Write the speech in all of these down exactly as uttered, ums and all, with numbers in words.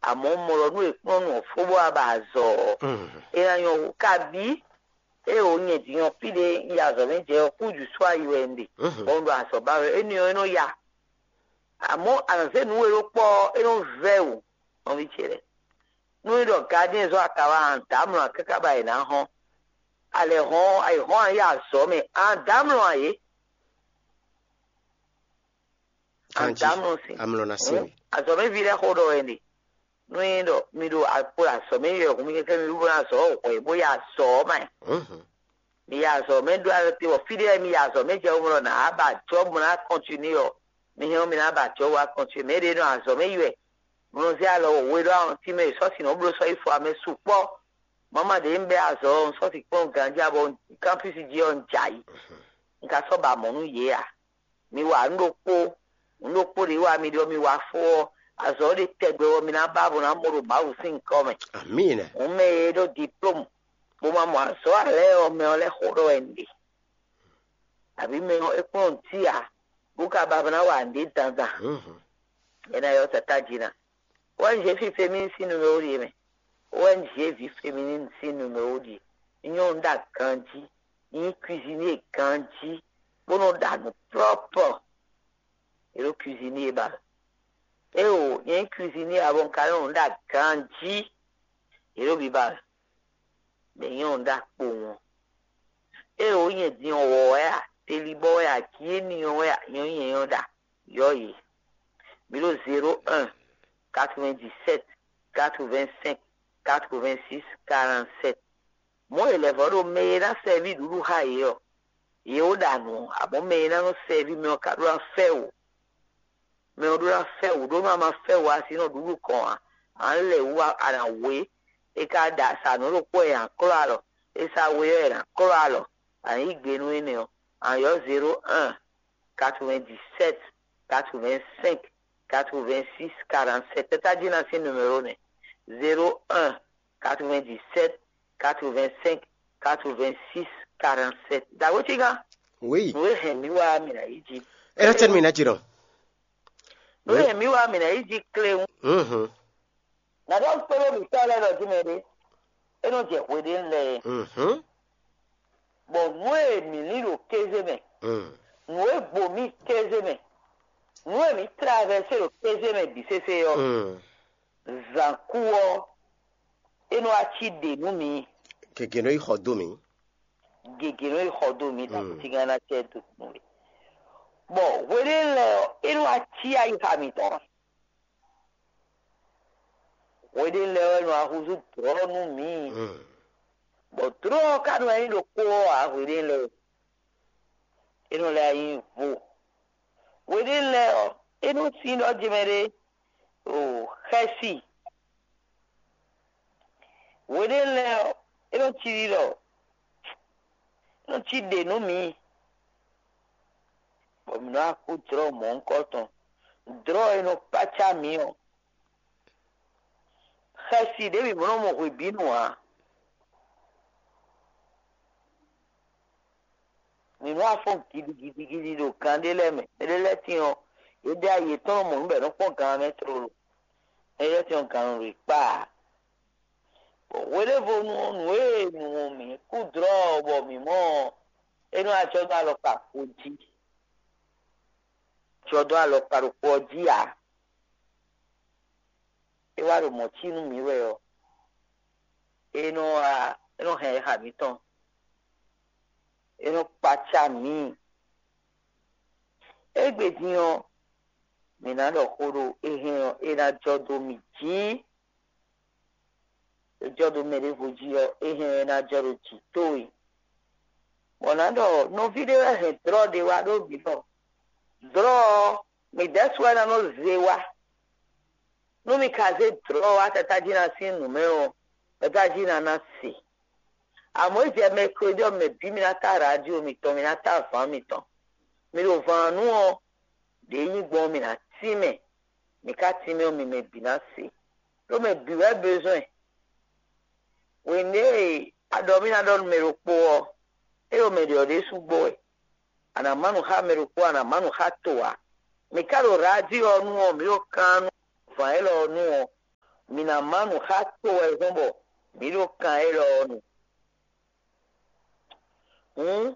Amɔ̌ mɔ ɖɔ nú è kplɔ́n nú ɔ́ fó bó wá ba azɔ̌ ɔ́, é ná nyɔ́ hú. Kabí ée wǒ nyɛ din ɔ́, fí ɖé un yi azɔ̌ mɛ jɛ ɔ́, kújǔ sú ayi wɛ un ɖe, bɔ un ɖo azɔ̌ ba wɛ. Énɛ́ ɔ́, é nɔ ya. Amɔ̌, a nǎ zé nǔ e ɖó kpɔ́ ɔ́, é nɔ vɛ́ wǔ, nɔví ce lɛ́ɛ. Nú é ɖɔ gadɛ́n zɔ́ ata wá a, dǎmlɔ́ ǎ káká ba è nǎ hɔn. A lɛ̌ hɔn, a yi hɔn a yi azɔ̌ mɛ, a dǎmlɔ́ ǎ é. A dǎmlɔ́ sin. Amlɔ ná sin we. Azɔ̌ mɛ ví lɛ́ɛ xó ɖɔ wɛ ɖe. Nú é ɖɔ mi ɖo akpo azɔ̌ mɛ yi wɛ hǔn mi kɛkɛ mi wú bó ná zɔ̌ hwɛ̌ bó yi azɔ̌ ɔ́ mɛ. Mi yi azɔ̌ mɛ ɖó alɔ te wɔ fí ɖé mi yi azɔ̌ mɛ jɛ womlɔ nǎ ba jɔ́ bó ná kɔntinué ɔ́, mi hɛn ɔ́ mi ná ba jɔ́ wá kɔntinué. Mɛ ɖě nɔ azɔ̌ mɛ yi wɛ, mlɔ zé alɔ wɔ we ɖó awɔntín mɛ, sɔ́si nɔ bló sɔ́ yi fɔ amɛ sukpɔ́. Mama ɖě un bɛ́ azɔ̌ ɔ́, un sɔ́ si kplɔ́n ganjí abɔ kanpísi jí ɔ́, un jɛ ayǐ. Un ka sɔ́ ba mɔ̌ nú yě ǎ. Mi wa nǔ ɖokpó, nǔ ɖokpó ɖě wa mi ɖɔ mi wa fó ɔ́, azɔ̌ ɖé tɛgbɛ wɛ mi ná ba bó ná mɔ ɖo Mawu sín nyǐkɔ mɛ. Amina. Hǔn mɛ e ɖó diplôme bó ma mɔ azɔ̌ ǎ lɛ́ɛ ɔ́, mɛ ɔ́ lɛ́ xo ɖɔ wɛ un ɖe. Abǐ mɛ ɔ́, é kplɔ́n nǔ cí ǎ, bó ka ba ná wa nǔɖé dandan. É ná ylɔ́ tatá jí ná. O N G fí féminin sín numéro ɖíe mɛ. O N G ví féminin sín numéro ɖíe. Nyɔ́ un ɖa ganjí, nyí cuisinier ganjí, bó nɔ ɖa nǔ prɔ́pɔ. È ɖo cuisinier ba. Éwo, nyɛ nyí cuisinier abɔ un ka nɔ nǔ ɖa ganjí. È ɖo biba. Mɛ nyɔ́ un ɖa kpowun. Éwo, nyɛ din ɔ́ wɔ wɛ a, telibɔ wɛ a, kieni ɔ́ wɛ a, nyɔ́ nyɛ nyɔ́ ɖa. Yɔ yě. Mi ɖo zéro un, quatre-vingt-dix-sept, quatre-vingt-cinq, quatre-vingt-six, quarante-sept. Mɔ̌ è lɛ̌ vɔ́ ɖo mɛ e ná sɛví ɖuɖu xá yě ɔ́, yě ó ɖa nǔ, amɔ̌ mɛ e ná nɔ sɛví mɛ ɔ́ ka ɖó ná fɛ wǔ. Mɛ ɔ́ ɖó ná fɛ wǔ, ɖó nú a ma fɛ wǔ a, a si nɔ ɖuɖu kɔn ǎ. A nǎ lɛ wǔ a, a nǎ wé. È ka ɖa sa nǔ ɖokpó wɛ è nǎ klɔ́ alɔ. È sa we ɔ́, è nǎ klɔ́ alɔ. A nǎ yí gbe nú énɛ́ ɔ́, a nǎ ylɔ́ zéro un, quatre-vingt-dix-sept, quatre-vingt-cinq, quatre-vingt-six, quarante-sept. Tɛ́ tají ná sín numéro nɛ́: zéro un, quatre-vingt-dix-sept, quatre-vingt-cinq, quatre-vingt-six, quarante-sept. Dǎwe cígán. Oui. Nǔ e hɛn mì wá mì nǎ yí jí. É ná tɛ́ nú mì ná jí nɔ. Nǔ e hɛn mì wá mì nǎ yí jí kléwún. Mhm. Nǎ ɖɔ kpé ɖó mǐtɔn lɛ́ɛ ɖɔ jí mɛ ɖé. É nɔ jɛ hweɖénu lɛ́ɛ. Mhm. Bɔ nǔ e mǐ lin ɖo kéze mɛ, Mm. nǔ e gbo mì kéze mɛ, nǔ e mǐ travɛse ɖo kéze mɛ bǐ sésé ɔ́, Mm. zǎnkú ɔ́, é nɔ wá cí ɖe nú mǐ. Gěgé nɔ yi xɔ dó mǐ. Gěgé nɔ yi xɔ dó mǐ, Mm. takútígán ná cɛ dó nú we. Bɔ hweɖénu lɛ́ɛ ɔ́, é nɔ wá cí ayixa mǐtɔn. Hweɖénu lɛ́ɛ wɛ nɔ wá húzú dlɔ̌ nú mǐ. Mm. Bɔ dlɔ̌ ɔ́ ka nɔ wá nyí ɖokpó ɔ́ ǎ hweɖénu lɛ́ɛ. É nɔ lɛ́ wá nyí vo. Hweɖénu lɛ́ɛ ɔ́, é nɔ sín ɖɔ jɛ mɛ ɖé o xɛsi. Hweɖénu lɛ́ɛ ɔ́, é nɔ cí ɖiɖɔ, é nɔ cí ɖe nú mǐ, bɔ mǐ nɔ wá kú dlɔ̌ mɔ̌hunkɔtɔn. Dlɔ̌ e nɔ kpácá mǐ ɔ́, xɛsi ɖěbǔ mǐ nɔ mɔ hwebǐnu ǎ. Mǐ nɔ wá fɔ́n gidigidigidi ɖo gan ɖé lɛ́ɛ mɛ. Mɛ ɖé lɛ́ɛ tín ɔ́, yě ɖe ayi yětɔn nɔ mɔ nǔ bɔ è nɔ kpɔ́n gan ɔ́ mɛ tlolo. Mɛ ɖé lɛ́ɛ tín ɔ́, gan nɔ ɖo yě kpaa. Bɔ hweɖěvonu ɔ́, nǔ e nu mǐ kú dlɔ́ ɔ́, bɔ mǐ mɔ ɔ́, é nɔ wá jɔ dó alɔkpa ko jí. Jɔ dó alɔkpa ɖokpó ɔ́ jí ǎ. É wá ɖo mɔ̌ cí nú mǐ wɛ ɔ́, é nɔ wá, é nɔ hɛn ayixa mǐtɔn, é nɔ kpácá mǐ. Égbé din ɔ́, mǐ ná ɖɔ xó ɖo é hɛn ɔ́, é ná jɔ dó mì jí. É jɔ dó mɛ ɖěvo jí ɔ́, é hɛn ɔ́, é ná jɔ ɖo jǐ towe. Bɔ ná ɖɔ nɔví ɖé wɛ hɛn dlɔ́ ɖé wá ɖó mǐ ɖɔ dlɔ́ ɔ́, mǐ ɖɛ́ su wɛ ná nɔ zé wá. Nú mi ka zé dlɔ̌ wá tata jí ná sín nǔ mɛ ɔ́, tata jí ná ná se. Amɔ̌, é jɛ mɛkledí ɔ́ mɛ bǐ mi ná tá radio mitɔn, mi ná tá vǎn mitɔn. Mi ɖo vǎn nú ɔ́, ɖě nyí gbɔn ɔ́, mi ná tínmɛ. Mi ka tínmɛ ɔ́, mi mɛ bǐ ná se. Ɖó mɛ bǐ wɛ bezɔn. Hwenu e a ɖɔ mì ná ɖɔ nú mɛ ɖokpó ɔ́, é ɖo mɛ ɖě ɔ́ ɖésú gbɔ wɛ. A nǎ má nǔ xá mɛ ɖokpó, a nǎ má nǔ xá to ǎ. Mǐ ka ɖo radio ɔ́ nu ɔ́, mǐ ɖo kan nú vǎn élɔ́ ɔ́ nu ɔ́, nǎ má nǔ xá to wɛ zɔ́n bɔ mǐ ɖo kan élɔ́ ɔ́ nu. Hǔn,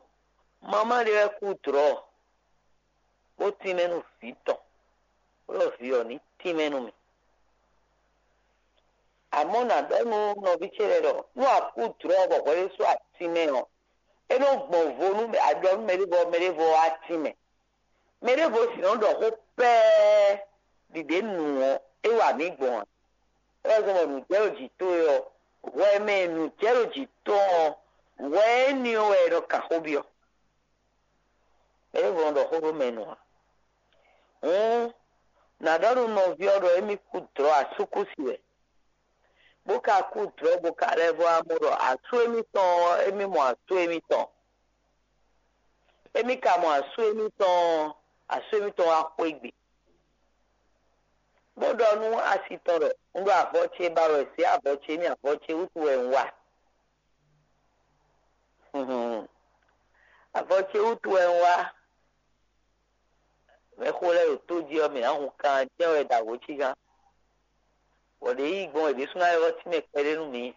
mamá ɖé wɛ kú dlɔ̌, bó tínmɛ nú vǐ tɔn, bó ɖɔ vǐ ɔ́ ní tínmɛ nú mì. Amɔ̌ nǎ ɖɔ nú nɔví ce lɛ́ɛ ɖɔ nú a kú dlɔ̌ bɔ hwɛ ɖésú a tínmɛ ɔ́, é nɔ gbɔn vo nú a ɖɔ nú mɛɖé bɔ mɛɖé bɔ wá tínmɛ. Mɛɖěvo sǐ nɔ́ ɖɔ xó pɛ́ɛ́ ɖi ɖě nu ɔ́, é wa mǐ gbɔn ǎ. É wɛ zɔ́n bɔ nǔ jɛ ɖo jǐ towe ɔ́, hwɛ e mɛ e nǔ jɛ ɖo jǐ tɔn ɔ́, hwɛ énɛ́ ɔ́ wɛ è nɔ kan xó byɔ́. Mɛɖěvo nɔ ɖɔ xó ɖó mɛ nu ǎ. Hǔn, nǎ ɖɔ nú nɔví ɔ́ ɖɔ émí kú dlɔ̌ asúkúsi wɛ, bó ka kú dlɔ̌ bó ka lɛ́ vɔ́ wá mɔ ɖɔ asú émítɔn ɔ́, émí mɔ asú émítɔn. Émí ka mɔ asú émítɔn ɔ́, asú émítɔn wá xwé gbe, bó ɖɔ nú asi tɔn ɖɔ: Un ɖo avɔ ce ba wɛ, zě avɔ ce n'i, avɔ ce wútu wɛ un wa. Avɔ ce wútu wɛ un wá. Mɛxó lɛ́ɛ ɖo tó jí ɔ́, mǐ ná hun kan jɛ́n wɛ ɖo awǒ cí gán, bɔ ɖě yí gbɔn è ɖésú ná ylɔ́ tínmɛ kpɛɖé nú mǐ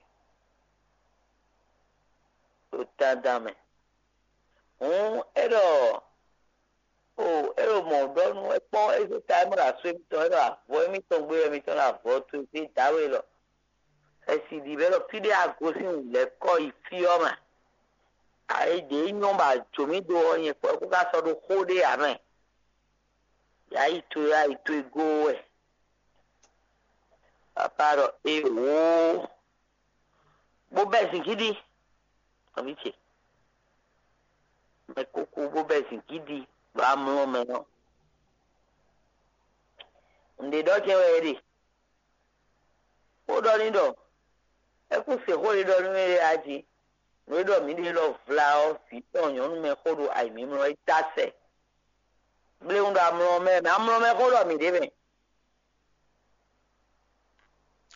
ɖo dandan mɛ. Hǔn é ɖɔ, o é ɖo mɔ̌ ɖɔ nú é kpɔ́n é zé ta é mɔ ɖo asú émítɔn, é ɖɔ avɔ émítɔn gbé wɛ émítɔn ɖo avɔ towe gbé dǎwe lɔ. Xɛsi ɖi bɛ ɖɔ fí ɖé a gosín wǔ lɛ́ kɔ yi fí ɔ́ mɛ. Ayi ɖě nyɔ́ bɔ a jǒ mì dó ɔ́, nyɛ kpɔ́ kú ká sɔ́ ɖó xó ɖé ǎ mɛ. Yǎ yi towe, yǎ yi towe gó wɛ. Papa ɖɔ: Ewǒo, bó bɛ́ zǐngídi, nɔví ce. Mɛ kúkú bó bɛ́ zǐngídi ɖo amlɔ mɛ ɔ́, nǔɖé ɖɔ jɛ́n wɛ é ɖe. Xó ɖɔ n'i ɖɔ: É kún se xó e ɖɔ nú mì é a jí. Nǔ e ɖɔ mǐ ɖe lɔ vla ɔ́, vǐ tɔn nyɔ̌nu mɛ xó ɖo ayǐmímlɔ́ é dó asɛ. Bléwún ɖo amlɔ mɛ mɛ, amlɔ mɛ xó ɖɔ mǐ ɖe mɛ.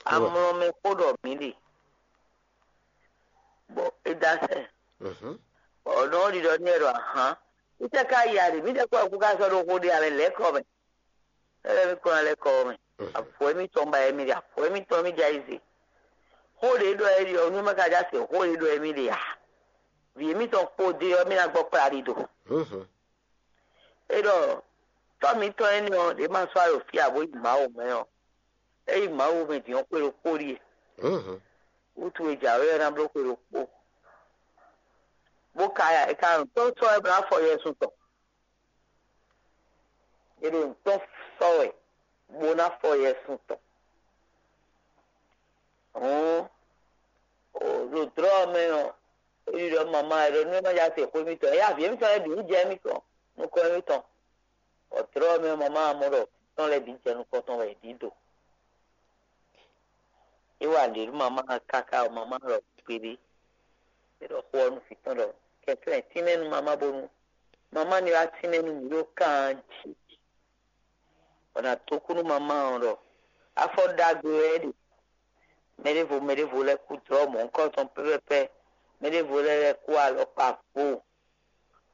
Amlɔ mɛ xó ɖɔ mǐ ɖe, bɔ é dó asɛ. Bɔ nɔ ɔ́ ɖiɖɔ n'i wɛ ɖɔ: Ahǎn, mǐtɛ́ ka yi a ɖe? Mǐtɛ́ kɔ kú ká sɔ́ ɖó xó ɖé a mɛ lɛ̌ kɔ mɛ? Éyɛ́ mì kplɔ́n lɛ́ kɔ ɔ́ mɛ. Avɔ émítɔn ba wɛ mì ɖe, avɔ émítɔn mì jɛ ayizɛ. Xó ɖě ɖɔ é ɖi ɔ́, nú é má ka já se xó ɖě ɖɔ émí ɖe ǎ. Vǐ émítɔn kpódé ɔ́, mì ná gbɔ kpla ɖi do. É ɖɔ tɔ́ mǐtɔn énɛ́ ɔ́, ɖě ma sɔ́ alɔ fí ǎ bó yi Mawu mɛ ɔ́, é yi Mawu mɛ din ɔ́ xwé ɖokpó ɖíe. Wútu e jǎwe ɔ́ ná bló xwé ɖokpó, bó ka ya, è ka nɔ tɔ́n sɔ́ wɛ bó ná fɔ Yɛsu tɔn. È ɖo nǔ tɔn sɔ́ wɛ bó ná fɔ Yɛsu tɔn. Hǔn, ɖo dlɔ̌ ɔ́ mɛ ɔ́, é ɖiɖɔ mama, è ɖɔ nú é má ja se xó émítɔn, é avǐ émítɔn lɛ́ɛ bǐ ní jɛ émítɔn nukɔn émítɔn, bɔ dlɔ̌ ɔ́ mɛ ɔ́, mama ɔ́ mɔ ɖɔ vǐ tɔn lɛ́ɛ bǐ jɛ nukɔn tɔn wɛ è ɖǐ do. É wa nǔɖé nú mama ɔ́ káká ɔ́, mama ɔ́ lɔ kpéɖé, é ɖɔ xó ɔ́ nú vǐ tɔn ɖɔ: Kɛnklɛ́n tínmɛ nú mama bónú mama ní wá tínmɛ nú mǐ ɖo kan jí. Bɔ nǎ tó kú nú mama ɔ́ ɖɔ afɔ ɖagbe wɛ é ɖe. Mɛɖěvo mɛɖěvo lɛ́ɛ kú dlɔ̌ mɔ̌hunkɔtɔn pɛ́pɛ́pɛ́, mɛɖěvo lɛ́ɛ lɛ́ɛ kú alɔkpa vo.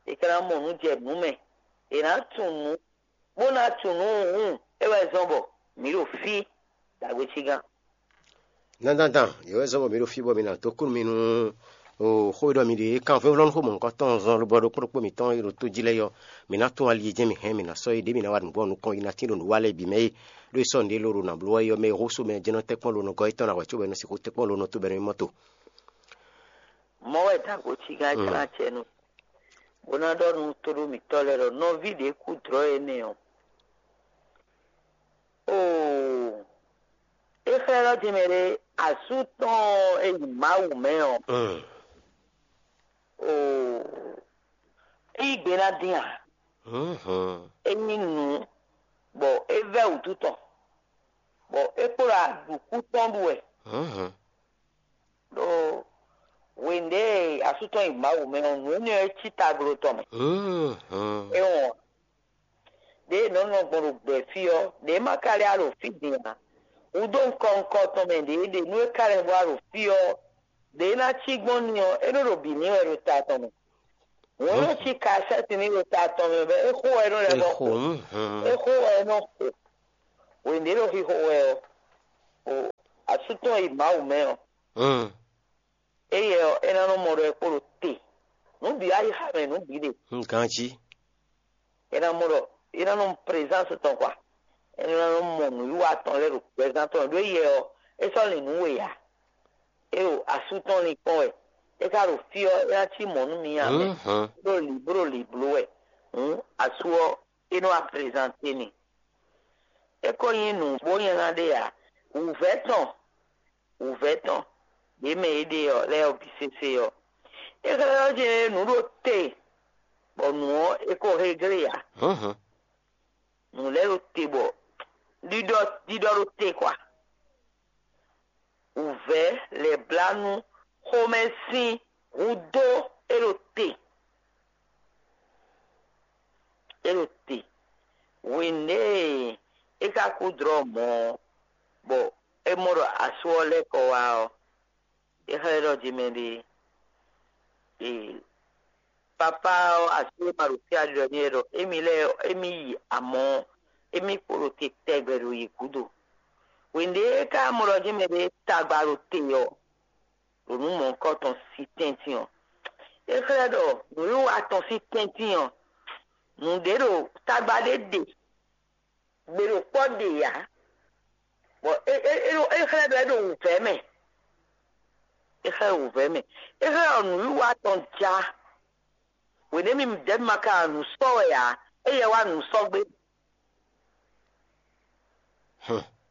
È ka ná mɔ nǔ jɛ nǔ mɛ, è nǎ tunwun nǔ, bó ná tunwun nǔ hǔn é wɛ zɔ́n bɔ mǐ ɖo fí ɖagbe cí gán. Dandandan, yě wɛ zɔ́n bɔ mǐ ɖo fí bɔ mǐ ná dó kú nú mi nú xó e ɖɔ mi ɖe é kan vɛ́nvlɔ́ nú xó mɔ̌hunkɔtɔn zɔn lobɔ ɖokpó ɖokpó mǐtɔn e ɖo tó jí lɛ́ɛ ɔ́, mǐ ná tún ali e jɛ́n mǐ hɛn, mǐ ná sɔ́ yě ɖě mǐ ná wa nǔgbó ɔ́ nukɔn yi ná tín ɖo nǔ wa lɛ́ɛ bǐ mɛ é. Ɖó è sɔ́ nǔɖé ló ɖo nǎ bló wɛ é ɔ́ mɛ e xó sú mɛ jɛ́n nɔ tɛ́nkpɔ́n lo nɔ gɔ́ yětɔn ná hwɛ̌ cóbɔ é nɔ sixú tɛ́nkpɔ́n lo nɔ tó bɔ é nɔ nyí mɔ́ to. Mɔ̌ wɛ dǎgbo cí gán jlá acɛ nú bó ná ɖɔ nú tóɖó mǐtɔn lɛ́ɛ ɖɔ nɔví ɖě kú dlɔ̌ énɛ́ ɔ́. Oo, é xlɛ́ ɖɔ din mɛ ɖé asú tɔn e yi Mawu mɛ ɔ́, oo, é yí gbe ná dín ǎ. É nyí nǔ bɔ é vɛ́ wǔtu tɔn, bɔ é kpo ɖo aɖǔkú tɔn ɖu wɛ. Ɖó hwenu ɖě e asú tɔn yi Mawu mɛ ɔ́, nǔ énɛ́ ɔ́ é cí tagblo tɔn mɛ. É wɔn ɖě e nɔ̌ nɔ gbɔn ɖo gbɛ̌ fí ɔ́, ɖě ma ka lɛ́ wá ɖo fí din ǎ. Hudó ŋkɔ ŋkɔ tɔn mɛ ɖě ɖe nú é ka lɛ́ wá ɖo fí ɔ́, ɖě ná cí gbɔn n'i ɔ́, é nɔ ɖo bǐ ní wɛ ɖo ta tɔn mɛ. Hǔn é nɔ cí kasɛ́ti ní ɖo ta tɔn mɛ bɔ é xo wɛ é nɔ lɛ́ vɔ xo. É xo wɛ é nɔ xo. Hwenu ɖě nɔ xixo wɛ ɔ́, o sú tɔn yi Mawu mɛ ɔ́, éyɛ́ ɔ́, é ná nɔ mɔ ɖɔ é kpo ɖo te. Nǔ bǐ wá yi xa mɛ nǔ bǐ ɖe. Ganjí. É ná mɔ ɖɔ é ná nɔ mɔ prezansi tɔn kwa. É ná nɔ mɔ nǔwiwa tɔn lɛ́ɛ ɖo gbɛzán tɔn ɖó éyɛ́ ɔ́, é sɔ́ lin nǔ we ǎ. É ɖo asú tɔn linkpɔ́n wɛ. É ka ɖo fí ɔ́, é ná cí mɔ̌ nú mi ǎ mɛ. Bó ɖo lǐbló lǐbló wɛ. Hǔn asú ɔ́, é nɔ wá prezante mi. É ko nyí nǔ bó nyanya ɖé ǎ. Wǔvɛ́ tɔn, wǔvɛ́ tɔn, ɖě mɛ é ɖe ɔ́ lɛ́ɛ ɔ́ bǐ sésé ɔ́, é xlɛ́ ɔ́ jɛ́n nǔ ɖo te, bɔ nǔ ɔ́, é ko hé glé ǎ. Nǔ lɛ́ɛ ɖo te bɔ ɖiɖɔ ɖiɖɔ ɖo te kwa. Wǔvɛ́ lɛ̌blánú xomɛ sín hudó é ɖo te. É ɖo te. Hwenu e é ka kú dlɔ́ mɔ̌ ɔ́, bɔ é mɔ ɖɔ asú ɔ́ lɛ́ kɔ wá ɔ́, é xlɛ́ ɖɔ jimɛ ɖe. Ee, papá ɔ́, asú e ma ɖo fí a ɖiɖɔ n'i wɛ ɖɔ émí lɛ́ɛ émí yi amɔ̌, émí kpo ɖo te tɛgbɛ ɖo yě gúdo. Hwenu ɖě é ka mɔ ɖɔ jimɛ ɖe tagba ɖo te ɔ́, ɖo nǔ mɔ̌hunkɔtɔn sí tɛ́ntin ɔ́, é xlɛ́ ɖɔ nǔwiwa tɔn sín tɛ́ntin ɔ́, nǔɖé ɖo tagba ɖé ɖe, gbe ɖo kpɔ́ ɖe ǎ, bɔ é é é ɖo é xlɛ́ ɖɔ é ɖo wǔvɛ́ mɛ. É xlɛ́ ɖɔ wǔvɛ́ mɛ. É xlɛ́ ɖɔ nǔwiwa tɔn ja. Hwenɛ́ mi dɛ̌ ma ka nǔ sɔ́ wɛ ǎ, éyɛ́ wá nǔ sɔ́ gbé.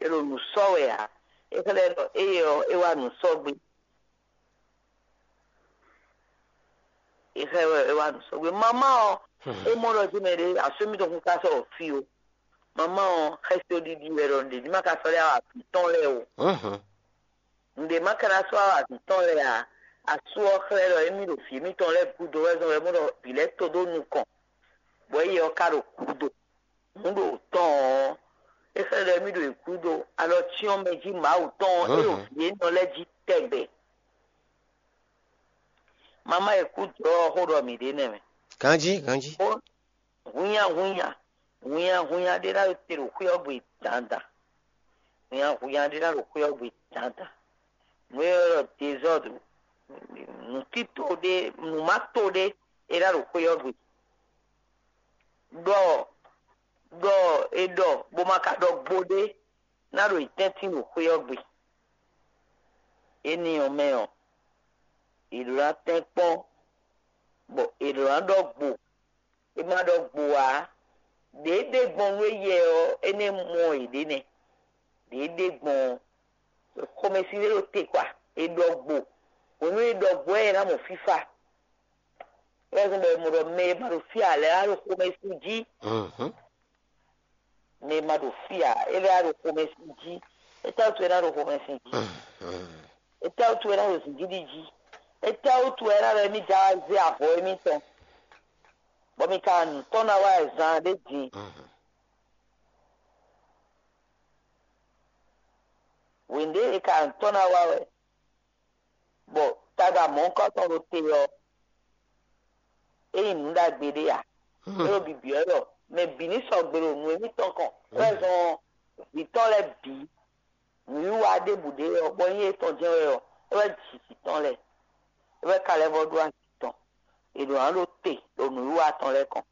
É ɖo nǔ sɔ́ wɛ ǎ. É xlɛ́ ɖɔ éyɛ́ ɔ́, é wá nǔ sɔ́ gbé. É xlɛ́ wɛ é wá nǔ sɔ́ gbé. Mamá ɔ́, é mɔ ɖɔ jí mɛ ɖé asú émítɔn kún ka sɔ́ fí ó. Mamá ɔ́, xɛsi ɖiɖi wɛ ɖɔ nǔɖé ní ma ka sɔ́ ɖé awǎ vǐ tɔn lɛ́ɛ ó. Nǔɖé ma ka ná sɔ́ awǎ vǐ tɔn lɛ́ɛ ǎ. Asú ɔ́ xlɛ́ ɖɔ émí ɖo vǐ émítɔn lɛ́ɛ gúdo wɛ zɔn wɛ mɔ ɖɔ vǐ lɛ́ɛ to dó nukɔn, bɔ éyɛ́ ɔ́ ka ɖo gúdo. Nǔ ɖo tɔn ɔ́, é xlɛ́ ɖɔ émí ɖo yě gúdo alɔ cyɔ́n mɛ jí Mawu tɔn ɔ́, é ɖo vǐ énɔ lɛ́ɛ jí tɛgbɛ. Mamá e kú jlɔ́ ɔ́ xó ɖɔ mǐ ɖe nɛ́ mɛ. Ganjí, ganjí. Hunnyahunnya, hunnyahunnya ɖé ná ɖo te ɖo xwé ɔ́ gbe dandan. Hunnyahunnya ɖé ná ɖo xwé ɔ́ gbe dandan. Nǔ e ɖɔ dezɔ́du, nǔtito ɖé, nǔmato ɖé, é ná ɖo xwé ɔ́ gbe. Ɖɔ ɖɔ è ɖɔ bó ma ka ɖɔ gbo ɖé ná ɖo yi tɛ́ntin ɖo xwé ɔ́ gbe. Énɛ́ ɔ́ mɛ ɔ́, è ɖǒ ná tɛ́nkpɔ́n, bɔ è ɖǒ ná ɖɔ gbo. È ma ɖɔ gbo ǎ. Ɖě é ɖe gbɔn nú éyɛ ɔ́, é nɛ́ mɔ yěɖée nɛ́. Ɖě é ɖe gbɔn ɔ́, xomɛsin ɖé ɖo te kpa. È ɖɔ gbo. Hwenu e è ɖɔ gbo ɔ́, è ná mɔ fífá. É wɛ zɔ́n bɔ è mɔ ɖɔ mɛ e ma ɖo fí ǎ lɛ́ɛ wá ɖo xomɛsin jí. Mɛ e ma ɖo fí ǎ, é lɛ́ wá ɖo xomɛsin jí. Étɛ́wútu wɛ é ná ɖo xomɛsin jí? Étɛ́wútu wɛ é ná ɖo zǐngídi jí? Étɛ́wútu wɛ é ná ɖɔ émí da wá zé avɔ émítɔn, bɔ mi ka nǔ tɔn ná wá zan ɖé din? Hwěɖě è ka nǔ tɔn ná wá wɛ, bɔ tagba mɔ̌hunkɔtɔn ɖo te ɔ́, é nyí nǔ ɖagbe ɖé a? É ɖo bibyɔ́ ɖɔ mɛ bǐ ní sɔgbe ɖo nǔ émítɔn kɔn, é wɛ zɔn vǐ tɔn lɛ́ɛ bǐ. Nǔwiwa ɖěbǔ ɖé ɔ́, bɔ nyí étɔn jɛ́n wɛ ɔ́, é wɛ ji vǐ tɔn lɛ́ɛ. É wɛ ka lɛ́ vɔ ɖó azi tɔn. È ɖǒ ná ɖo te ɖo nǔwiwa tɔn lɛ́ɛ kɔn.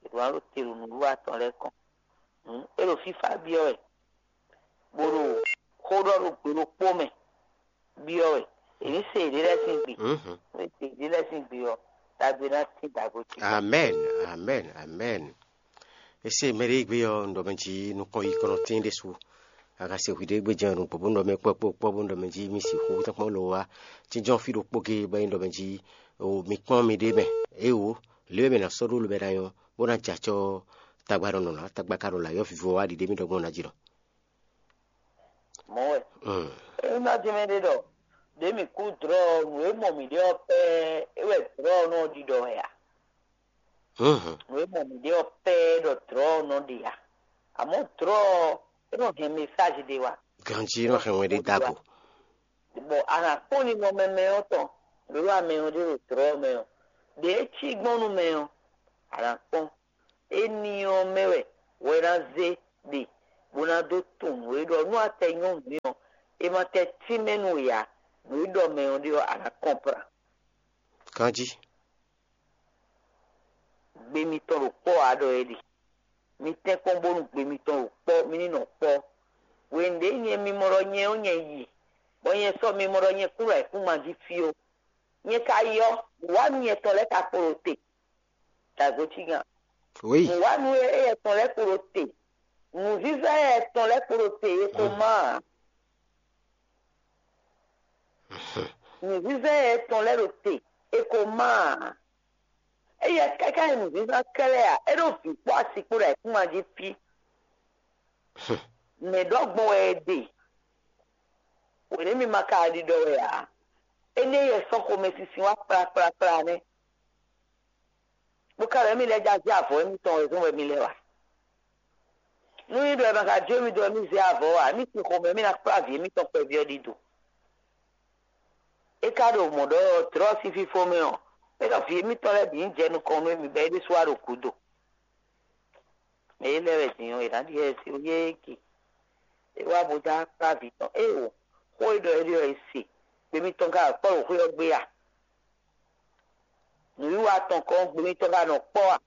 È ɖǒ ná ɖo te ɖo nǔwiwa tɔn lɛ́ɛ kɔn. Hǔn é ɖo fífá byɔ́ wɛ, bó ɖo xó ɖɔ ɖo gbe ɖokpó mɛ byɔ́ wɛ. È nǐ se yěɖée lɛ́ɛ sín gbe. Nú è se yěɖée lɛ́ɛ sín gbe ɔ́, ɖagbe ná tín dǎgbo ce. Amɛn, amɛn, amɛn. Esi mɛ ɖé gbe ɔ́, un ɖɔ mɛ jí nukɔn yi kɔnɔ tín ɖésú. A ka se hwi ɖé gbe jɛ́n nǔgbó bó un ɖɔ mɛ kpɔ́ kpó kpɔ́ bó un ɖɔ mɛ jí mi sixú tɔ́nkpɔ́n lo wá. Jínjɔ́n fí ɖokpó gé bɔ un ɖɔ mɛ jí o mi kpɔ́n mi ɖé mɛ. Éwo, lě e mɛ ná sɔ́ ɖó lobɛ ná nyɔ́, bó ná jɛ acɔ́ tagba ɖɔ nɔ ná, tagba ka ɖo lǎyɔ́ vivo wá ɖiɖe mì ɖɔ gbɔn ná jí nɔ. Mɔ̌ wɛ. É ná dín mɛ ɖé ɖɔ ɖě mǐ kú dlɔ̌ ɔ́, nǔ e mɔ mǐ ɖe ɔ́ pɛ́ é wɛ dlɔ̌ ɔ́ nɔ ɖiɖɔ wɛ a? Nǔ e mɔ mǐ ɖe ɔ́ pɛ́ ɖɔ dlɔ̌ ɔ́ nɔ ɖe a? Amɔ̌ dlɔ̌ ɔ́, é nɔ hɛn mesázi ɖé wá. Ganjí nɔ hɛn wɛn ɖé dó ago. Bɔ a nǎ kpɔ́n ninɔmɛ mɛ ɔ́ tɔn, ɖó amɛ ɔ́ ɖé ɖo dlɔ̌ ɔ́ mɛ ɔ́, ɖě é cí gbɔn nú mɛ ɔ́, a nǎ kpɔ́n. Éní ɔ́ mɛ wɛ hwɛ ná zé ɖe bó ná dó tunwun nǔ e ɖɔ nú a tɛ nyɔ́ nǔ ɔ́, È ma tɛ tínmɛ nú we ǎ. Nǔ e ɖɔ mɛ ɔ́ ɖe ɔ́, a nǎ kɔnplan. Ganjí. Gbe mitɔn ɖo kpɔ́ ǎ ɖɔ é ɖe. Mi tɛ́nkpɔ́n bónú gbe mitɔn ɖo kpɔ́, mi ní nɔ kpɔ́. Hwenu ɖě nyɛ mi mɔ ɖɔ nyɛ ɔ́ nyɛ yi, bɔ nyɛ sɔ́ mi mɔ ɖɔ nyɛ kún ɖo ayǐkúngban jí fí ó. Nyɛ ka yi ɔ́, nǔwanú nyɛ tɔn lɛ́ɛ ka kpo ɖo te. Dǎgbécígan. Oui. Nǔwanú éyɛ́ tɔn lɛ́ɛ kpo ɖo te. Nǔzízá éyɛ́ tɔn lɛ́ɛ kpo ɖo te, e ko má ǎ. Nǔzízá éyɛ́ tɔn lɛ́ɛ ɖo te, e ko má ǎ. Éyɛ́ káká nyí nǔzízá kɛ́lɛ́ ǎ, é ɖo vǐ kpó asi kpó ɖo ayǐkúngban jí fí. Mɛ̌ ɖɔ gbɔn wɛ è ɖe? Wěné mi ma ka ɖiɖɔ wɛ ǎ. Énɛ́ yɛ sɔ́ xomɛsinsin wá kplakplakpla nɛ́. Bó ka ɖɔ émí lɛ́ɛ já zé avɔ émítɔn wɛ zɔ́n wɛ mi lɛ́ wa. Nú nyí ɖɔ è ma ka jó émí dó wɛ mí zé avɔ ǎ, émí sín xomɛ mí ná kplá vǐ émítɔn kpɛví ɔ́ ɖidó. É ka ɖo mɔ̌ ɖɔ tlɔ́ sín fífó mɛ ɔ́, é ɖɔ vǐ émítɔn lɛ́ɛ bǐ ní jɛ nukɔn nú émí bɔ é ɖésú wá ɖo gǔdo. Mɛ é lɛ́ wɛ din ɔ́, è nǎ ɖi xɛsi yééki. É wá bó dó akpá vǐ tɔn. Éeǒ, xó e ɖɔ é ɖe ɔ́, è se. Gbe mitɔn ka wɛ kpɔ́ ɖo xwé ɔ́ gbe a? Nǔwiwa tɔn kɔn gbe mitɔn ka nɔ kpɔ́ a?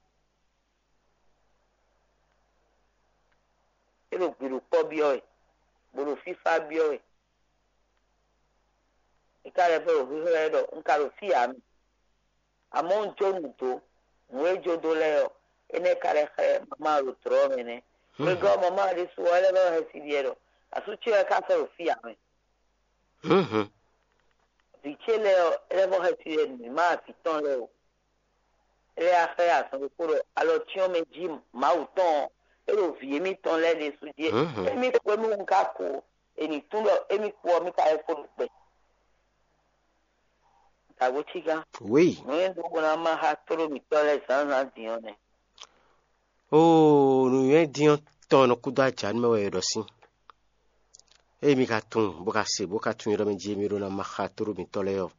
É ɖo gbiɖukpɔ́ byɔ́ wɛ, bó ɖo fífá byɔ́ wɛ. É ka lɛ́ vɔ ɖo xwíxwɛ́ wɛ ɖɔ un ka ɖo fí ǎ mi. Amɔ̌ un jó nǔ dó, nǔ e jó dó lɛ́ɛ ɔ́, énɛ́ ka lɛ́ xlɛ́ mamá ɖo tlɔ̌ ɔ́ mɛ nɛ́. Xwegɔ́ mamá ɖésú ɔ́, é lɛ́ vɔ hɛn si ɖiɛ ɖɔ asú ce wɛ ka sɔ́ ɖo fí ǎ mɛ. Vǐ ce lɛ́ɛ ɔ́, é lɛ́ vɔ hɛn si ɖiɛ nǔ má vǐ tɔn lɛ́ɛ o. É lɛ́ wá xlɛ́ azɔn ɖokpó ɖɔ alɔ cyɔ́n mɛ jí Mawu tɔn ɔ́, é ɖo vǐ émítɔn lɛ́ɛ ɖésú jí. Émí xwé mɛ un ka ko, è nǐ tunwun ɖɔ émí kú ɔ́, mí ka lɛ́ kpo ɖo gbɛ. Dǎgbécígán. Oui. Nǔ e ɖó bó ná má xá tlóló mǐtɔn lɛ́ɛ zǎnzǎn din ɔ́ nɛ́. Oo, nǔnywɛ́ din ɔ́ tɔn nɔ kúdó ajǎ nú mɛ wɛ è ɖɔ sín. Ée mi ka tunwun, bó ka se, bó ka tunwun e ɖɔ mɛ jí émí ɖó ná má xá tlóló mǐtɔn lɛ́ɛ ɔ́,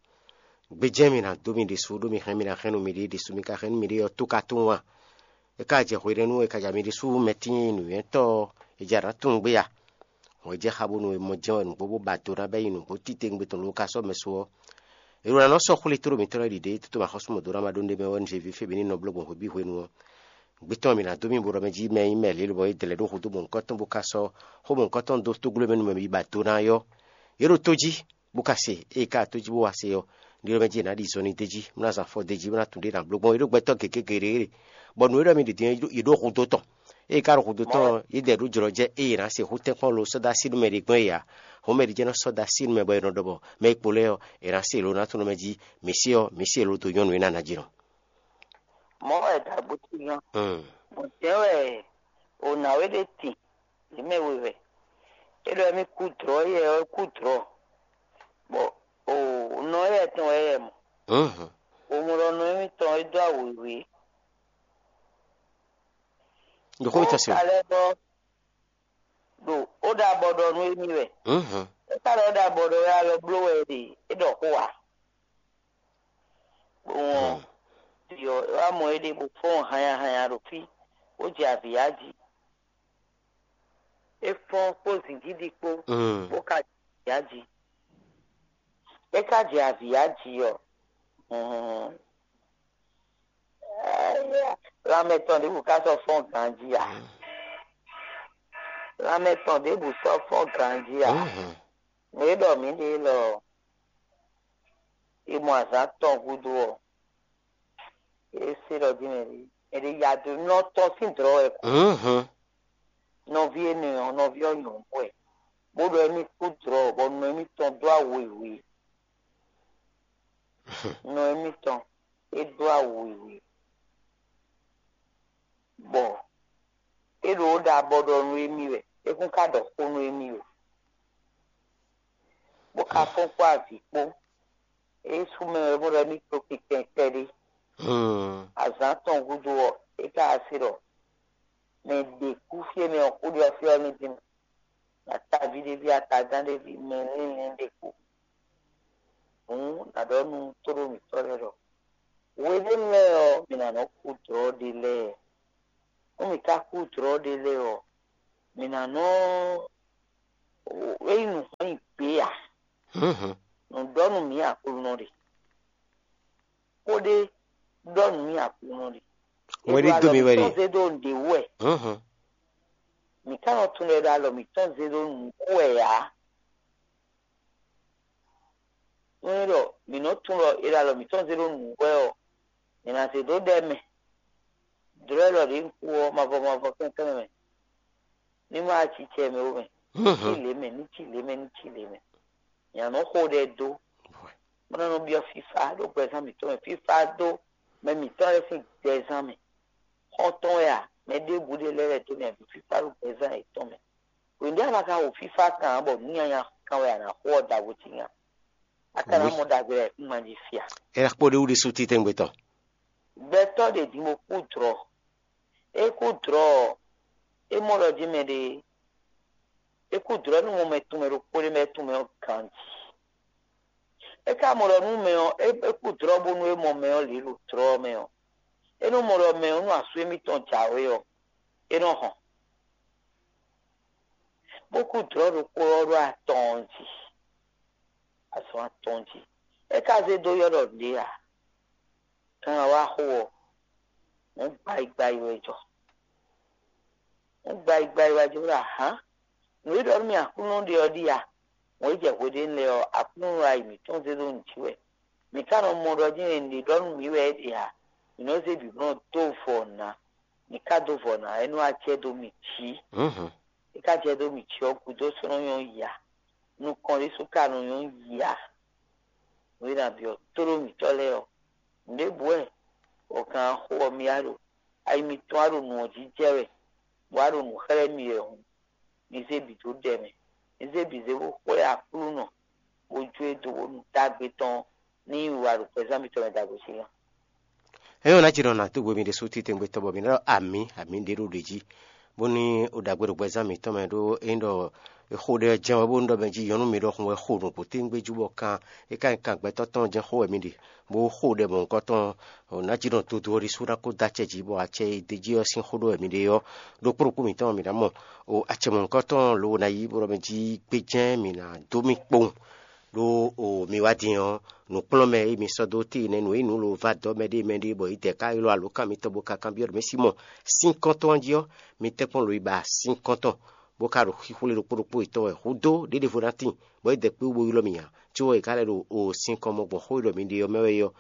gbejɛ́n mi ná dó mi ɖésú, ɖó mi hɛn mi ná hɛn nú miɖée ɖésú, mi ka hɛn nú miɖée ɔ́, tó ka tunwun a? É ka jɛ hwenɛ́nu e ka ja mi ɖésú mɛ tíin nǔnywɛ́tɔ́ ɔ́, è ja nǎ tunwun gbé a? Hɔn é jɛ xá bónú è mɔ jɛ́n wɛ nǔgbó bó ba do ná bɛ́ nyi nǔgbó titewungbe tɔn ló ka sɔ́ mɛ su ɔ́, è ɖo ná nɔ sɔ́ xwlé tlóló mǐtɔn lɛ́ɛ ɖiɖe, toto ma xɔ́ súnmɔ dó ná ma ɖó nɖé mɛ wɛ un zé vǐ fé bǐ ní nɔ bló gbɔn hweví hwenu ɔ́. Gbé tɔn mǐ ná dó mì bo ɖɔ mɛ jí mɛ nyí mɛ lě lobɔ é dlɛ̌ ɖó hudó mɔ̌hunkɔtɔn bó ka sɔ́ xó mɔ̌hunkɔtɔn dó tógló mɛ nú mɛ bǐ ba do ná ɔ́, yě ɖo tó jí, bó ka se. Ée ka tó jí bó wá se ɔ́, ɖiɖɔ mɛ jí è nǎ ɖi zɔnlin d'é jí, bó ná zán afɔ d'é jí, bó ná tunwun ɖě è nǎ bló gbɔn. Yě ɖo gbɛtɔ́ gěgé geɖé. Bɔ nǔ e ɖɔ mi ɖě din ɔ́, yě ɖo xudó tɔn. Ée ka ɖo xudó tɔn ɔ́, yě dɛ ɖó jlɔ́ jɛ ée è nǎ se xú tɛ́nkpɔ́n lo sɔ́ dó así nú mɛ ɖě gbɔn é ǎ. Hɔn mɛ ɖě jɛ́n nɔ sɔ́ dó así nú mɛ bɔ è nɔ ɖɔ bɔ mɛ e kpo lɛ́ɛ ɔ́, è nǎ se lo ná tunwun mɛ jí, mǐ se ɔ́, mǐ se lo dó nyɔ́nu e ná ná jí nɔ. Mɔ̌ wɛ dǎgbó tín ɔ́. Mɔ̌ tɛ́ wɛ o nǎwe ɖé tin, yě mɛ we wɛ. É ɖɔ émí kú dlɔ̌ yɛ ɔ́ kú dlɔ̌, bɔ o nɔ yɛ tɔn wɛ yɛ mɔ. O mɔ ɖɔ nɔ émítɔn é dó awu wěwé. Yǒxó mi tɔn se o. Ka lɛ́ bɔ ɖo ó ɖo abɔ ɖɔ nú émí wɛ. É ka ɖɔ é ɖo abɔ ɖɔ wɛ alɔ bló wɛ é ɖe, é ɖɔ xó ǎ. Bó wɔn ɖi ɔ́, é wá mɔ éɖée bó fɔ́n hanya hanya ɖo fí, bó jɛ avǐ yá jí. É fɔ́n kpó zǐngídi kpó, bó ka jɛ avǐ yá jí. É ka jɛ avǐ yá jí ɔ́, hɔn, lanmɛ tɔn ɖěbǔ ka sɔ́ fɔ́n ganjí ǎ. Lanmɛ tɔn ɖěbǔ sɔ́ fɔ́n ganjí ǎ. Nǔ e ɖɔ mǐ ɖe élɔ́ ɔ́, è mɔ azǎn tɔn gúdo ɔ́, é se ɖɔ jí mɛ ɖé, mɛ ɖé ya dó nɔ tɔn sín dlɔ̌ wɛ kú. Nɔví énɛ́ ɔ́, nɔví ɔ́ nyɔ̌nu wɛ, bó ɖɔ émí kú dlɔ̌, bɔ nɔ émítɔn dó awu wěwé. Nɔ émítɔn é dó awu wěwé, bɔ é ɖo ó ɖo abɔ ɖɔ nú émí wɛ, é kún ka ɖɔ xó nú émí wɛ, bó ka fɔ́n kpó avǐ kpó. É sú mɛ wɛ bó ɖɔ émí kpó kpikpɛn kpɛɖé. Azǎn tɔn gúdo ɔ́, é ka wá se ɖɔ mɛ ɖě kú fí e mɛ ɔ́ kú ɖe ɔ́ fí ɔ́ ní dín. Ataví ɖé ví, atagán ɖé ví, mɛ línlín ɖé kú. Hǔn nǎ ɖɔ nú tóɖó mǐtɔn lɛ́ɛ ɖɔ: Hweɖénu lɛ́ɛ ɔ́, mǐ ná nɔ́ kú dlɔ̌ ɖé lɛ́ɛ. Nú mǐ ka kú dlɔ̌ ɖé lɛ́ɛ ɔ́, mǐ ná nɔ́ é nyí nǔ hɔn nyi gbě Nǔ ɖɔ nú mǐ Aklúnɔ ɖe. Xó ɖé ɖɔ nú mǐ Aklúnɔ ɖe. Wɛn ɖé dó mì wɛ ɖe. Zé ɖó nǔɖé wú wɛ. Mǐ ka nɔ tunwun ɖɔ alɔ mǐtɔn zé ɖó nǔ wú wɛ ǎ. Nú é ɖɔ mǐ nɔ tunwun ɖɔ è ɖo alɔ mǐtɔn zé ɖó nǔ wú wɛ ɔ́, mǐ ná zé ɖó ɖɛ mɛ. Dlɔ̌ ɖɔ ɖě un kú ɔ́, mavɔ mavɔ kɛ́nkɛ́n mɛ. Ní má acicɛ mɛ ó mɛ. Ní cí lě mɛ, ní cí lě mɛ, ní cí lě mɛ. Nya nɔ xo ɖɛ dó. Bó ná nɔ byɔ́ fífá ɖo gbɛzán mǐtɔn mɛ. Fífá dó mɛ mǐtɔn lɛ́ɛ sín gbɛzán mɛ. Xɔ́ntɔn wɛ a? Mɛ ɖěbǔ ɖé lɛ́ɛ lɛ́ dó mɛ bǐ fífá ɖo gbɛzán yětɔn mɛ. Wěndé a ma ka wo fífá kan ǎ bɔ nǔ nyanya kan wɛ a nǎ xo ɔ́ ɖaxó cí nya. A ka ná mɔ ɖagbe lɛ́ɛ kún ma jí fia. É ná kpó ɖé wú ɖésú títɛ́ngbé tɔn. Gbɛtɔ́ ɖě din bó kú dlɔ̌. É kú dlɔ̌ ɔ́, é mɔ ɖɔ jí mɛ ɖé é kú dlɔ̌ nú mɔ mɛ tɔn mɛ ɖokpó ɖé mɛ tɔn mɛ ɔ́ ganjí. É ka mɔ ɖɔ nú mɛ ɔ́, é kú dlɔ̌ bónú é mɔ mɛ ɔ́ lě ɖo dlɔ̌ ɔ́ mɛ ɔ́, é nɔ mɔ ɖɔ mɛ ɔ́ nú asú émítɔn jǎwe ɔ́, é nɔ hɔn. Bó kú dlɔ̌ ɖokpó ɔ́ ɖo atɔn ɔ́ jí, azɔn atɔn jí. É ka zé dó ylɔ́ ɖɔ ɖě ǎ. Kan wá xo ɔ́, nǔ gbayi gbayi wɛ jɔ. Nǔ gbayi gbayi wɛ jɔ ɖɔ ahǎn. Nǔ e ɖɔ nú mì Aklúnɔ ɖe ɔ́ ɖíe a? Wějɛ hweɖénu lɛ́ɛ ɔ́, Aklúnɔ ayi mǐtɔn zé ɖó nǔ jí wɛ. Mǐ ka nɔ mɔ ɖɔ jɛ́n è nǐ ɖɔ nú mǐ wɛ é ɖe ǎ. Mǐ nɔ zé bǐ nɔ dó vɔ ná. Mǐ ka dó vɔ ná, é nɔ wá acɛ dó mì jǐ. É ka jɛ dó mǐ jí ɔ́ gúdo sɔ́ nɔ nyɔ́ ya. Nukɔn ɖésú ka nɔ nyɔ́ ya. Nǔ e ná byɔ́ tóɖó mǐtɔn lɛ́ɛ ɔ́, nǔɖé bǔ wɛ wɔ̌kan xó ɔ́ mì wá ɖo. Ayi mitɔn wá ɖo nǔ ɔ́ jí jɛ wɛ, bó wá ɖo nǔ xlɛ́ mì wɛ hǔn, mi zé bǐ dó ɖɛ mɛ. Mi zé bǐ zé bó xwlɛ́ Aklúnɔ, bó jó e dó bónú ɖagbe tɔn ní yi wa ɖo gbɛzán mitɔn mɛ ɖagbe sín nya. É nyɔ́ ná ci ɖɔ nǎ dó hwe mi ɖésú titewungbe tɔn bɔ mi ná ɖɔ amǐ, amǐ ɖě ɖo ɖě jí, bónú o ɖagbe ɖo gbɛzán mǐtɔn mɛ ɖó é nyí ɖɔ è xo ɖɛ ɔ́ jɛ́n wɛ bónú ɖɔ mɛ jí nyɔ̌nu mi ɖɔhun wɛ xo nǔgbó tɛ́ngbé jú bɔ kan é ka nyí kan gbɛtɔ́ tɔn jɛ́n xó wɛ mi ɖe, bó xo ɖɛ mɔ̌hunkɔtɔn ɔ́, nǎ jí ɖɔ dodó ɔ́ ɖésú ná kó dó acɛ jí bɔ acɛ e d'é jí ɔ́ sín xó ɖɔ wɛ mi ɖe ɔ́, ɖokpó ɖokpó mǐtɔn mǐ ná mɔ. O acɛ mɔ̌hunkɔtɔn lǒ ná yí bó ɖɔ mɛ jí gbé jɛ́n mǐ ná dó mì kpowun. Ɖó o mi wá din ɔ́, nǔkplɔ́nmɛ e mi sɔ́ dó tíi nɛ́ nǔ e nǔ lǒ va dɔ́ mɛ ɖé mɛ ɖé bɔ yě dɛ ká ylɔ́ alǒkan mitɔn bó ka kanbyɔ́ ɖɔ mɛ Simɔ́ɔ, sín kɔ́ntɔn ɔ́ jí ɔ́, mi tɛ́nkpɔ́n lǒ yi ba sín kɔ́ntɔn, bó ka ɖo xixwlé ɖokpó ɖokpó yětɔn wɛ hudó ɖěɖěvo ná tíin, bɔ yě dɛ kpé wú bó ylɔ́ mi ǎ. Có ɔ́, è ka lɛ́ ɖo o sín kɔn mɔ gbɔn xó e ɖɔ mi ɖe ɔ́ mɛ wɛ é ɔ́,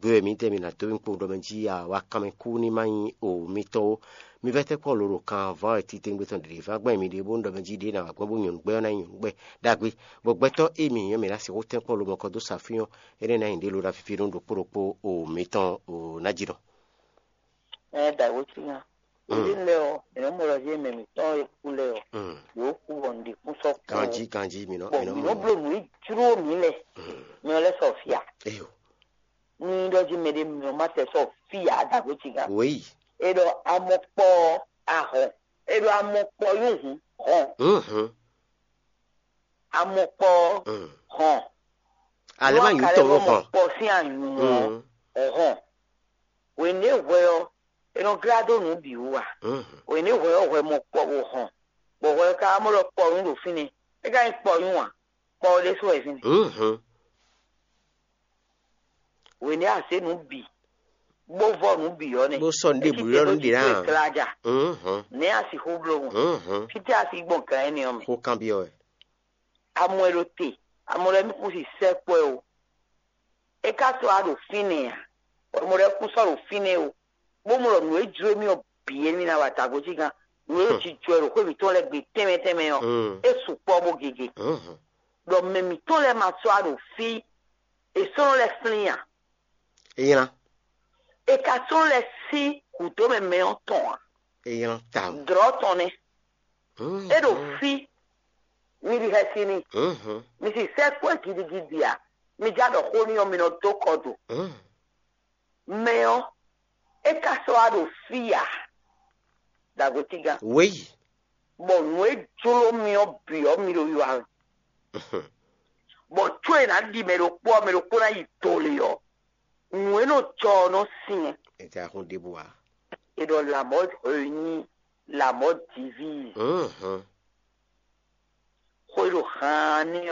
gbe wɛ mǐdɛɛ mi ná dó mì kpowun ɖɔ mɛ jí a wá kanmɛ kú ní má nyí o mitɔn ó. Mi vɛ́ tɛ́nkpɔ́n lǒ ɖo kan vɔ̌ wɛ titewungbe tɔn ɖě ván gbɛn mi ɖe bónú ɖɔ mɛ jí ɖě ná wá gbɛn bó nyɔ̌nu gbɛ́ ɔ́ ná nyí nyɔ̌nu gbɛ́ ɖagbe, bɔ gbɛtɔ́ e mi nyí ɔ́, mi ná sixú tɛ́nkpɔ́n lǒ mɔ̌kɔ dó sa fí ɔ́, énɛ́ ná nyí ɖě ló ná fífí nú ɖokpó ɖokpó o mitɔn o ná jí ɖɔ. Ɛ ɖagbe sín nya. Ɖě lɛ́ɛ ɔ́, mǐ nɔ mɔ ɖɔ jí mɛ mǐtɔn e kú lɛ́ɛ ɔ́, yǒ kú bɔ nǔɖé kún sɔ́ kú. Ganjí ganjí mi nɔ Bɔ mi nɔ mǐ nɔ mɔ. Bló nǔ e jló mǐ lɛ́ɛ, mi ɔ lɛ́ sɔ fia. Eyo. Ní ɖɔ jí mɛɖé mǐ ɔ má tɛ sɔ fia ɖagbe sín nya. Wěyi. E ɖɔ amɔkpɔ ahɔn. E ɖɔ amɔkpɔ yún hǔn hɔn. Mhm. Amɔkpɔ hɔn. Ale má nyú tɔn ó hɔn. Kpɔ sín anyǔ ɔ́ hɔn. Wěné hwɛ ɔ́, è nɔ glá dó nǔ bǐ wú a? Wěné hwɛ ɔ́ hwɛ mɔ kpɔ bó hɔn, bɔ hwɛ ɔ́ ka wá mɔ ɖɔ kpɔnyú ɖo fínɛ́. É ka nyí kpɔnyú a? Kpɔ ɔ́ ɖésú wɛ fínɛ́. Wěné a zě nǔ bǐ, bó vɔ nǔ bǐ ɔ́ nɛ́. Bó sɔ́ nǔ ɖěbǔ ylɔ́ nǔ ɖě ná. Nɛ̌ a sixú bló hɔn? Fítɛ́ a si gbɔn gǎn énɛ́ ɔ́ mɛ? Xó kanbyɔ́ wɛ. Amɔ ɛ ɖo te, amɔ lɛ́ɛ mì kún si sɛ́ kpɔ́ ɛ o. É ka sɔ́ wá ɖo fínɛ́ ǎ, bɔ mɔ lɛ́ɛ kún sɔ́ ɖo fínɛ́ o, bó mɔ ɖɔ nǔ e jló mì ɔ́ bǐ é mì ná wa tagbó cí gán, nǔ e jijɔ ɛ ɖo xwé mǐtɔn lɛ́ɛ gbe tɛnmɛ tɛnmɛ ɔ́, é sukpɔ́ bó gege. Ɖɔ mɛ mǐtɔn lɛ́ɛ ma sɔ́ wá ɖo fí è sɔ́ nɔ lɛ́ flín ǎ. É nylá. È ka sɔ́ lɛ́ sí gǔdo mɛ mɛ ɔ́ tɔn ǎ. É nylá tawun. Dlɔ̌ tɔn nɛ́. É ɖo fí, mi ɖi xɛsi n'i. Mi si sɛ́ kpɔ́ gidigidi ǎ. Mi já ɖɔ xó n'i ɔ́, mi nɔ dó kɔ do. Mɛ ɔ́, é ka sɔ́ wá ɖo fí ǎ. Dagbe tígán. Wěyi. Bɔ nǔ e jló mi ɔ́ bǐ ɔ́, mi ɖo wiwa wɛ. Bɔ có e ná ɖi mɛ ɖokpó ɔ́, mɛ ɖokpó ná yi do lě ɔ́, nǔ e nɔ jɔ ɔ́ nɔ syɛ́n. È jɛ ahun ɖěbǔ ǎ. È ɖɔ la mort réunie, la mort divise. Xó e ɖo haan ní